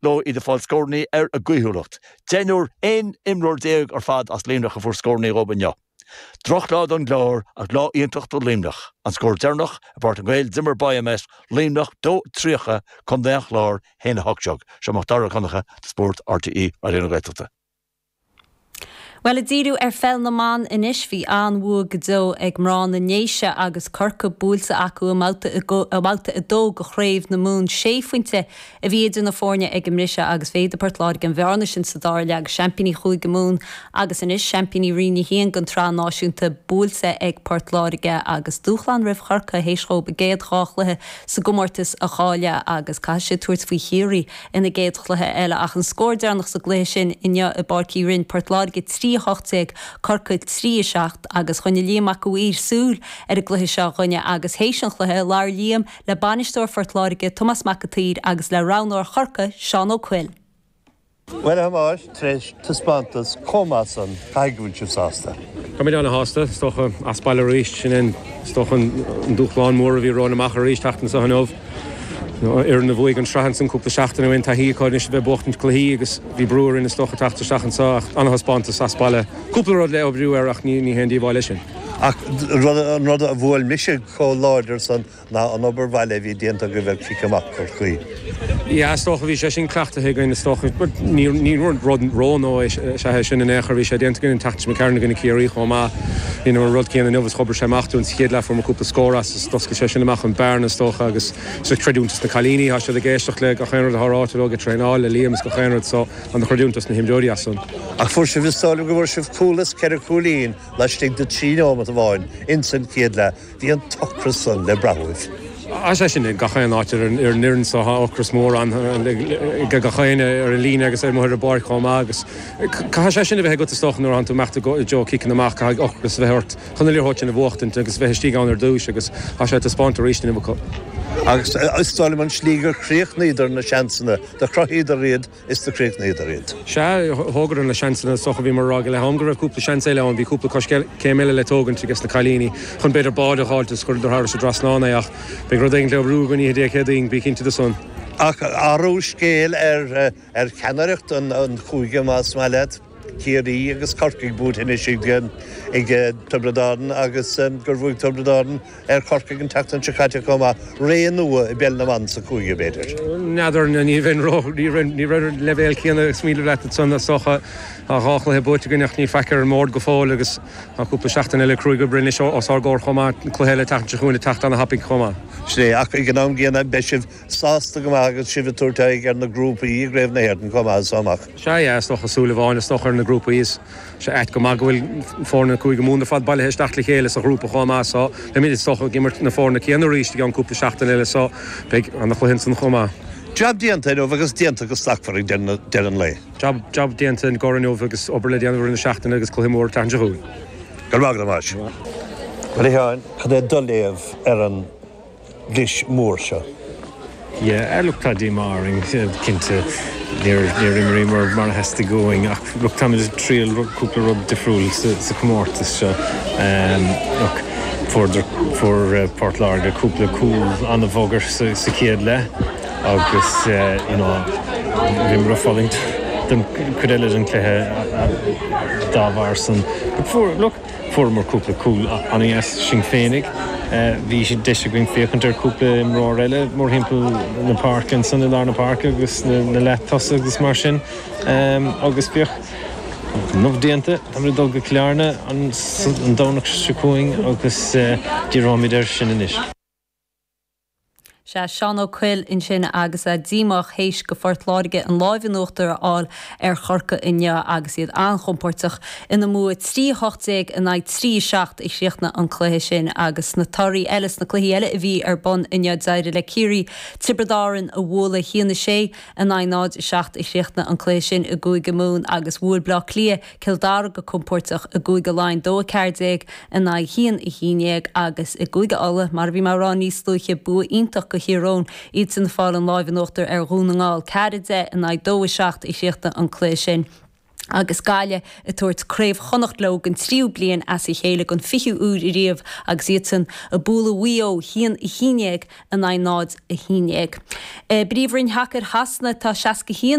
Leo iad ag fáil scórannaí ar a gcaoithiúlacht. Deichniúr, 11 imreoir ar fad as Luimneach a fuair scórannaí dhóibh inniu. Drochlá don gClár ach lá iontach do Luimneach. An scór deireanach i bPáirc na nGael, d'imir BioMet Luimneach 2, 30, Contae an Chláir 1, 18. Seo Mac Dara Ó Conchúir do Spórt RTÉ Raidió na Gaeltachta. Bhuel, ag díriú ar pheil na mban anois, bhí an-bhua go deo ag mná na nDéise agus Corcaigh buailte acu i mbabhta i mbabhta 2 de Chraobh na Mumhan. Sé phointe a bhí idir na foirne ag an mbriseadh agus mhéadaigh Port Láirge an bhearna sin sa dara leath agus seaimpíní Chúige Mumhan agus anois seaimpíní Roinn 1 den tSraith Náisiúnta buailte ag Port Láirge agus dúshlán roimh Chorcaigh théis dhóibh a gcéad dhá chluiche sa gcomórtas a chailleadh agus caithfidh siad tabhairt faoi Chiarraí ina gcéad chluiche eile ach an scór deireanach sa gcluiche sin inniu i bPáirc Uí Rinn, Port Láirge 3, 18, Corcaigh 3, 7 agus choinnigh Liam Mac a' Mhaoir súil ar an gcluiche seo dhúinne agus théis an chluiche labhair Liam le bainisteoir Phort Láirge, Tomás Mac an tSaoir agus le roghnóir Chorcaí, Seán Ó Cuill. Bhuel, a Thomáis, tar éis taispeántas chomh maith san, caithfidh go bhfuil sibh sásta? Táimid ana-shásta, is dócha, as baile arís. Sin é, is dócha, an dúshlán mór a bhí romhainn amach arís, teacht anso inniu. Fhoireann a bhuaigh an tsraith ansan cúpla seachtain ó shin, taithí acu anois a bheith ag buachtaint cluichí agus bhí brú orainn, is dócha, teacht isteach anso ach ana-thaispeántas as baile. Cúpla rud le oibriú air ach ní haon díobháil é sin. Ach an rud a bhuail mise chomh láidir san ná an obair bhaile a bhí déanta agaibh ar chic amach Chorcaí. Yeah, is dócha, bhí sé sin cleachtaithe againn, is dócha, but ní rud rónua is ea é sin in aon chor, bhí sé déanta againn an tseachtain seo imigh tharainn i gcoinne Ciarraí chomh maith. Rinneamar an rud céanna inniu is dh'oibrigh sé amach dúinn sa chéad leath, fuair muid cúpla scór as is d'oscail sé sin amach an bearna is dócha agus is creidiúint dos na cailíní, tá siad ag éisteacht le gach aon rud atá ráite leo, ag traenáil le Liam is gach aon rud so an-chreidiúint dos na himreoirí as san. Ach fuair sibh, is dóigh liom go bhfuair sibh cúl is ceithre chúilín laistigh de trí neomat amháin ins an chéad leath. Bhí an t-ocras san le brath uaibh. Tá sé sin ag gach aon áit ar an fhoireann so. Tá ocras mór ann ag gach éinne ar an líne agus amuigh ar an bpáirc chomh maith agus caithfidh sé sin a bheith agat is dócha nuair atánn tú ag imeacht i dtreo ciceanna amach, caithfidh ocras a bheith ort chun an liathróid sin a bhuachtaint agus a bheith istigh ann ar dtúis agus tá sé taispeánta arís inniu acu. Agus is dóigh liom an slí gur chríochnaíodar na seansanna, do chruthaíodar iad is do chríochnaíodar iad. Sea, thógadar na seansanna is dócha. Bhíomar ag rá ag leath am go raibh cúpla seans eile ann, bhí cúpla coiscéim eile le tógaint ages na cailíní chun b'fhéidir báide a dh'fháilt is chuireadar thairis an dtrasnán é ach beidh rud éigin le oibriú againn oíche Dé Céadaoin, bí cinnte de san. Ach athrú scéil ar ar cheannaireacht an chúige más maith leat. Ciarraí agus Corcaigh buaite anois ag Tiobraid Árann agus gur bhuaigh Tiobraid Árann ar Chorcaigh an tseachtain seo caite chomh maith. Ré nua i bpeil na mban sa chúige, b'fhéidir. N'fheadar, ní bheinn ró, ní raibh ar an leibhéal céanna ag smaoineamh leat ansan is dócha. Tá dhá chluiche buaite againn ach níl faic ar an mbord go fóill agus tá cúpla seachtain eile cruaidh oibre anois os ár gcomhair chomh maith, cluiche eile an tseachtain seo chugainn ag teacht ana-thapaidh chomh maith. Sin é, ach ag an am gcéanna beidh sibh sásta go maith agus sibh ag tabhairt aghaidh ar na grúpaí i gCraobh na hÉireann chomh maith as so amach. Sea, yeah, is dócha súil amháin is dócha ar na grúpaí is sé ait go maith go bhfuil foirne Cúige Mumhan ar fad bailithe isteach le chéile sa ghrúpa chomh maith so beimid is dócha ag imirt na foirne céanna arís i gceann cúpla seachtain eile so beidh ana-chluiche ansan chomh maith. Jab déanta inniu agus déanta go slachtmhar ag deireadh an lae. Jab, jab déanta i gcomhair inniu agus obair le déanamh i rith na seachtaine agus cluiche mór an tseachtain seo chugainn. Go raibh maith agat, a Thomáis. Bhuel, a Sheáin, cad é do léamh ar an gclis mhór seo. Yeah, look tá díomá orainn, cinnte. Níor, níor imríomar mar a theastaigh uainn ach look táimid ag triail cúpla rud difriúil sa, sa chomórtas seo. Look fuaireadar, fuair Port Láirge cúpla cúl an-bhodhar sa, sa chéad leath agus you know bhíomar ag fulaingt don chuid eile den chluiche dá bharr san. But fuair, look, Fuaireamar cúpla cúl an-dheas sinn féinig. Bhí deis againn féachaint ar cúpla imreoir eile mórthimpeall na páirce ansan i lár na páirce agus na leath-tosaithe agus mar sin. Agus bheadh enough déanta. Táimid ag dul go Cill Airne an Domhnach seo chugainn agus díreoimid air sin anois. Sea, Seán Ó Cuill ansin agus é díomách théis do Phort Láirge an láimh in uachtar a fháil ar Chorcaigh inniu agus iad an-chompóirteach ina mbua 3, 18 in aghaidh 3, 7 a chríochnaigh an cluiche sin. Agus sna torthaí eile, sna cluichí eile a bhí ar bun inniu, d'éirigh le Ciarraí Tiobraid Árann a bhualadh 1, 6 in aghaidh 0, 7 a chríochnaigh an cluiche sin i gCúige Mumhan agus bhuail Bleá Cliath Cill Dara go compóirteach i gCúige Laighean 2, 14 in aghaidh 1, 11 agus i gCúige Uladh, mar a bhí mé a rá níos luaithe, bua iontach do Thír Eoghain, iadsan ag fáil an láimh in uachtar ar Dhún na nGall, 4, 10 in aghaidh 2, 7 a chríochnaigh an cluiche sin. Agus Gaillimh ag tabhairt Craobh Chonnacht leo don tríú bliain as a chéile, don 20ú uair ariamh, agus iadsan ag bualadh Mhaigh Eo, 1-11 in aghaidh 0-11. I bPríomhroinn Shacair Shasana tá 61.